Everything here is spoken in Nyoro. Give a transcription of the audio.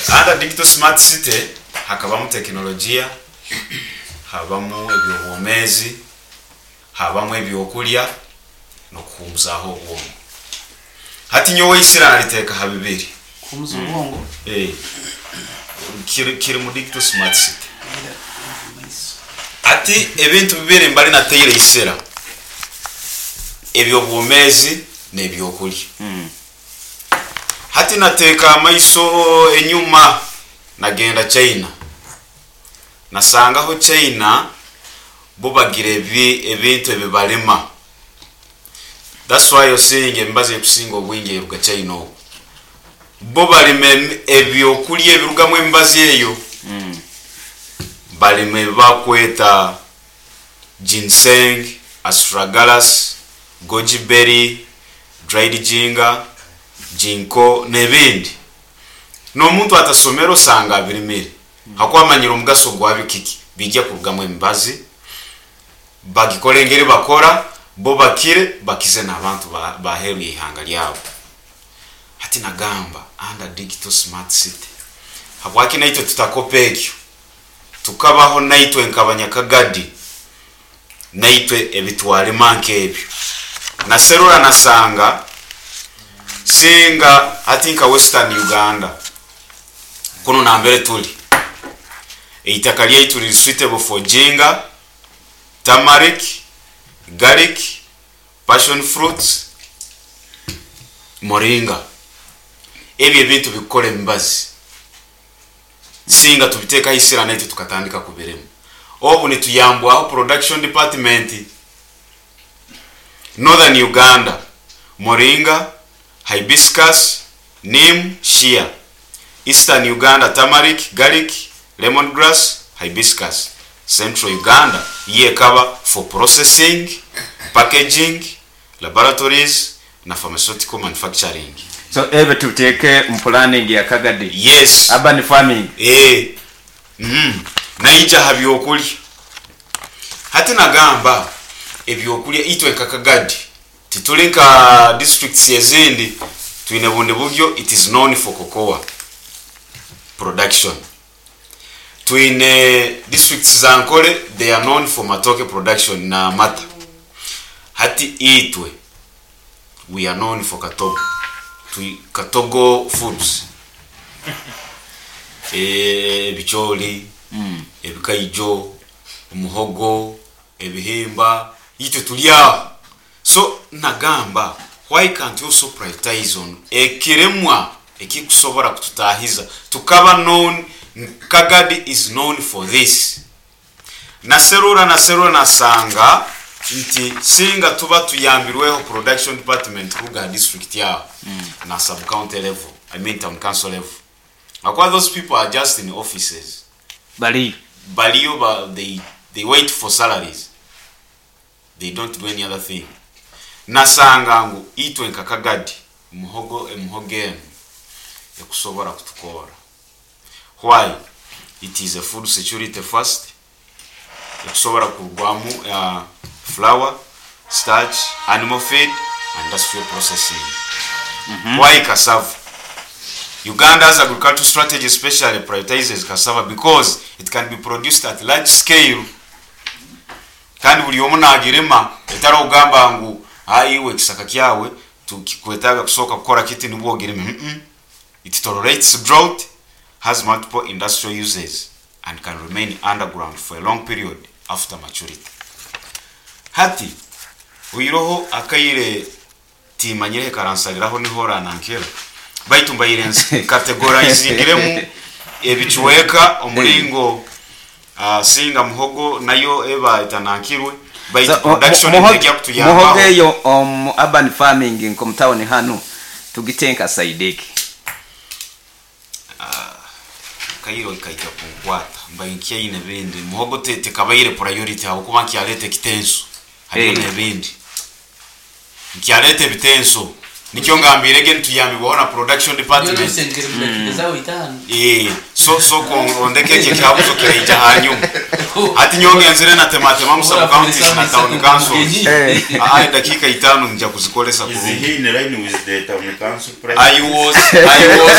Under Digital Smart City hakabamu tekinologiya, habamu eby'obwomeezi, habamu ebyokulya n'okuhuumuzaaho obwongo. Hati nyowe isira naliteeka ha bibiri. Kuhumuza obwongo. Eh, kiri, kiri mu Digital Smart City. Hati ebintu bibiri mbali nataire isira, eby'obwomeezi n'ebyokulya. Hati nateeka amaiso enyuma nagenda China, nasangaho China bo bagira ebi ebintu ebibalima. That's why you're seeing emibazi erikusinga obwingi eruga China okwo. Bo balima ebyokulya ebirugamu emibazi eyo. Balima ebi bakweta ginseng, astragalus, goji berry, dried ginger, ginkgo n'ebindi. N'omuntu atasomere osanga abirimire hakuba amanyire omugaso gwabyo kiki, biija kurugamu emibazi, bagikore engeri bakora, bo bakire bakize n'abantu b'aheeru y'eihanga lyabo. Hati nagamba under Digital Smart City, habwaki naitwe tutakopa ekyo tukabaho naitwe nk'Abanyakagadi naitwe ebitwalima nk'ebyo? Naserura nasanga singa hati nka Western Uganda kunu nambere tuli, eitaka lyaitu riri suitable for ginger, turmeric, garlic, passion fruits, moringa. Ebyo ebintu bikukora emibazi. Singa tubiteekaho isira naitwe tukatandika kubirima. Obu nituyambwaho production department. Northern Uganda, moringa, hibiscus, neem, shea. Eastern Uganda, turmeric, garlic, lemon grass, hibiscus. Central Uganda yo ekaba for processing, packaging, laboratories na pharmaceutical manufacturing. So ebyo tubiteeke mu planning ya Kagadi Yes. Urban Farming. Eeh. Naija ha byokulya. Hati nagamba ebyokulya itwe nka Kagadi tituli nka districts ezindi, twine bundi buryo it is known for cocoa production. Twine districts za Ankole they are known for matooke production na amata. Hati itwe we are known for katogo, katogo foods, ebicoori, ebikaijo, omuhogo, ebihimba, itwe turi aho. So nagamba why can't we also prioritize on ekirimwa ekikusobora kututahiza tukaba known Kagadi is known for this. Naserura naserura nasanga nti singa tuba tuyambirweho production department kuruga ha district aho na sub county level, I mean town council level, ahakuba those people are just in offices. Bariyo. Bariyo ba they wait for salaries. They don't do any other thing. Nasanga ngu itwe nka Kagadi muhogo emihogo enu ekusobora kutukoora. Why? It is a food security first, ekusobora kurugwamu flour, starch, animal feed and industrial processing. Why cassava? Uganda's agricultural strategy especially prioritizes cassava because it can be produced at large scale. Kandi buri omu naagirima etari okugamba ngu haa iwe ekisaka kyawe tukikwetaaga kusooka kukora kiti nibwo ogirime. Mm-mm. It tolerates drought, has multiple industrial uses and can remain underground for a long period after maturity. Hati oihireho akaire timanyireho ekaransariraho niho oranankira baitu mbaire nkategoraizingiremu ebicweka omuringo singa muhogo nayo eba etanankirwe baitu So, production muhogo neija kutuyambaho. eyo omu urban farming nk'omu tawuni hanu tugite nka sayidi ki? Akaire kaija kunkwata mbaire nkyaine ebindi. Muhogo tekabaire priority ahabw'okuba nkyaleeta ekitenso hariyo n'ebindi. Nkyaleeta ebitenso nikyo ngambiire ge nituyambibwaho na production department. Eeh so sooka ondeke ekyo ekihabuzo kiraija hanyuma. Hati nyowe ngenzire natematemamu sub counties na town councils. Aa edakiika itaano nija kuzikoresa Is kurungi. he in line with the town council I president? was I was.